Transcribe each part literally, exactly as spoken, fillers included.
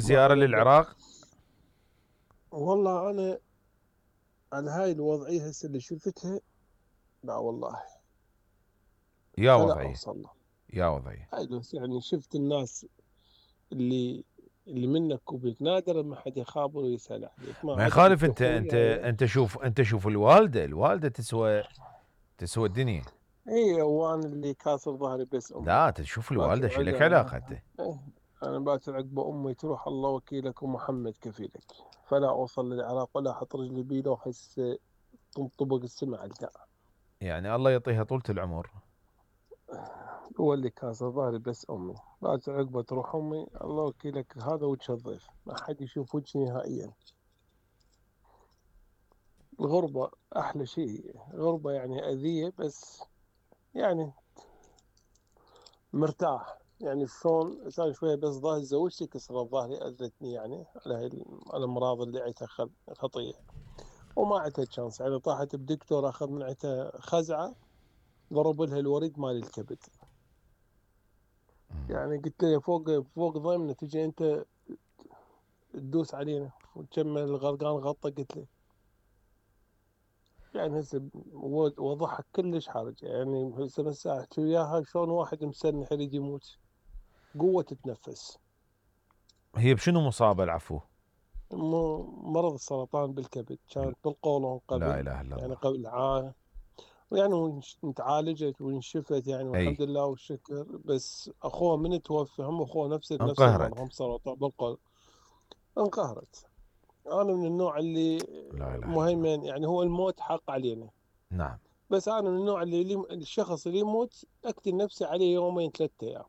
زيارة للعراق؟ والله انا على هاي الوضعية هسه اللي شفتها لا والله يا فلا وضعي اوصل له. يا وضعي هاي بس يعني شفت الناس اللي اللي منك وبيك نادر ما حد يخابر ويسأل عليك، ما ما عدا يخالف. انت انت اخوي انت هذا. انت شوف انت شوف الوالده الوالده تسوى تسوى الدنيا. اي وانا اللي كاسر ظهري بس امي. لا تشوف الوالده باكر شو لك عقب علاقه انت؟ إيه، انا باكر عقب امي تروح الله وكيلك ومحمد كفيلك، فلا اوصل للعراق ولا احط رجلي بيه لو احس تنطبق السمع القاع. يعني الله يعطيها طولة العمر. هو اللي كاسر ظهري بس امي، باكر عقبه تروح امي الله وكيلك، هذا وجه الضيف ما حد يشوف وجهي نهائيا. الغربة أحلى شيء، غربة يعني أذية بس يعني مرتاح. يعني شلون صار شوية بس ظهري زوجتي كسرت ظهري أذتني يعني على هاي الأمراض اللي عيتها خطية، وما عندها تشانس يعني. طاحت بدكتور أخذ من عندها خزعة، ضرب لها الوريد مال الكبد. يعني قلت له فوق فوق ضيمنا تجي أنت تدوس علينا وتكمل الغرقان غطى. قلت له يعني هسه وضحك كلش حرج يعني. هسه بس احكي وياها شلون واحد مسنح يريد يموت، قوة تتنفس. هي بشنو مصابه العفو؟ مرض السرطان بالكبد، كانت بالقولون لا قبل اله الا يعني الله. قبل عام، ويعني تعالجت وانشفت يعني اي والحمد لله والشكر. بس اخوه من توفى هم اخوه نفس نفس المرض، انقهرت. هم سرطان بالقولون. انقهرت. انا من النوع اللي لا اله الا الله. مهيمن يعني، هو الموت حق علينا. نعم. بس انا من النوع اللي, اللي الشخص اللي يموت اقتل نفسي عليه يومين ثلاثة ايام،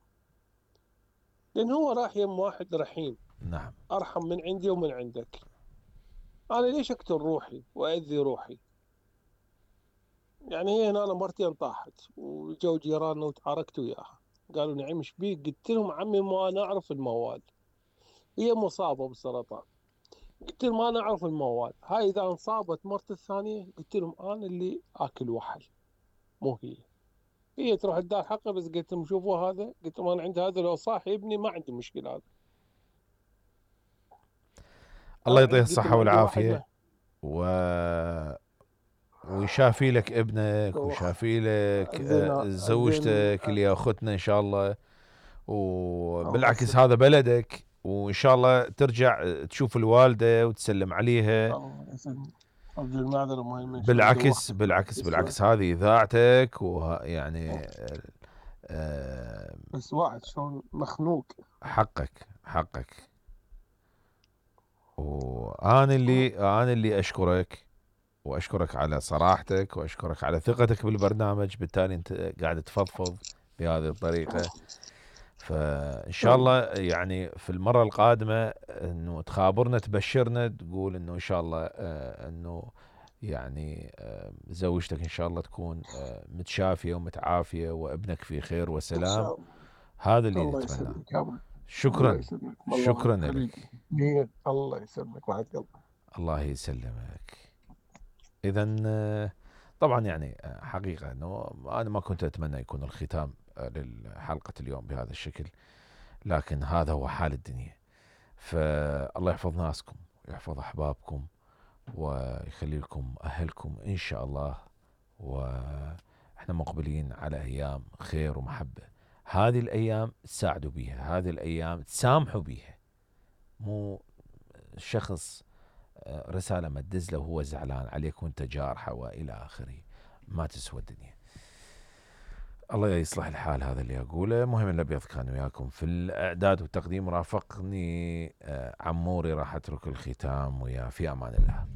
لان هو راح يم واحد رحيم نعم. ارحم من عندي ومن عندك. انا ليش اقتل روحي واذي روحي؟ يعني هي هنا انا مرتين طاحت وجو جيراننا وتعاركت وياها، قالوا نعم ايش بيك؟ قلت لهم عمي ما انا اعرف الموال، هي مصابه بالسرطان. قلت لهم ما انا اعرف الموال، هاي اذا انصابت مرت الثانيه قلت لهم انا اللي اكل وحل مو هي. هي تروح تدار حقه. بس قلت لهم شوفوا هذا، قلت لهم انا عندي هذا لو صاح ابني ما عندي مشكله. هذا الله انا يعطيه عندي قلت الصحه لهم عندي واحد والعافيه ما و ويشافي لك ابنك أوه. ويشافي لك زين آه، زين. زوجتك اللي يا اختنا ان شاء الله. الله وبالعكس يسلمك. هذا بلدك، وان شاء الله ترجع تشوف الوالده وتسلم عليها. الله يسلمك. ارجو المعذره مهمه شلون بالعكس دوختك بعد بالعكس بس واحد. بالعكس هذه اذاعتك ويعني آه، بس واحد شلون مخنوق. حقك حقك. وانا اللي انا اللي اشكرك، واشكرك على صراحتك، واشكرك على ثقتك بالبرنامج. بالتالي انت قاعد تفضفض بهذه الطريقه. فان شاء الله يعني في المره القادمه انه تخابرنا تبشرنا تقول انه ان شاء الله آه، انه يعني آه، زوجتك ان شاء الله تكون آه، متشافيه ومتعافيه وابنك في خير ان وسلام. شاء الله. هذا اللي الله نتمناه. يسلمك يا ابوي. الله شكرا. يسلمك والله شكرا حبيبي. لك. مين الله يسلمك وحد قلبي. الله يسلمك. اذا طبعا يعني حقيقه انه انا ما كنت اتمنى يكون الختام للحلقه اليوم بهذا الشكل، لكن هذا هو حال الدنيا. فالله يحفظ ناسكم ويحفظ احبابكم ويخلي لكم اهلكم ان شاء الله. واحنا مقبلين على ايام خير ومحبه. هذه الايام تساعدوا بيها، هذه الايام تسامحوا بيها. مو شخص رسالة ما تدز له وهو زعلان عليك وانت جارحة والى اخره، ما تسوى الدنيا. الله يصلح الحال. هذا اللي اقوله. مهم الابيض كان وياكم في الاعداد والتقديم، رافقني عموري. راح اترك الختام ويا في امان الله.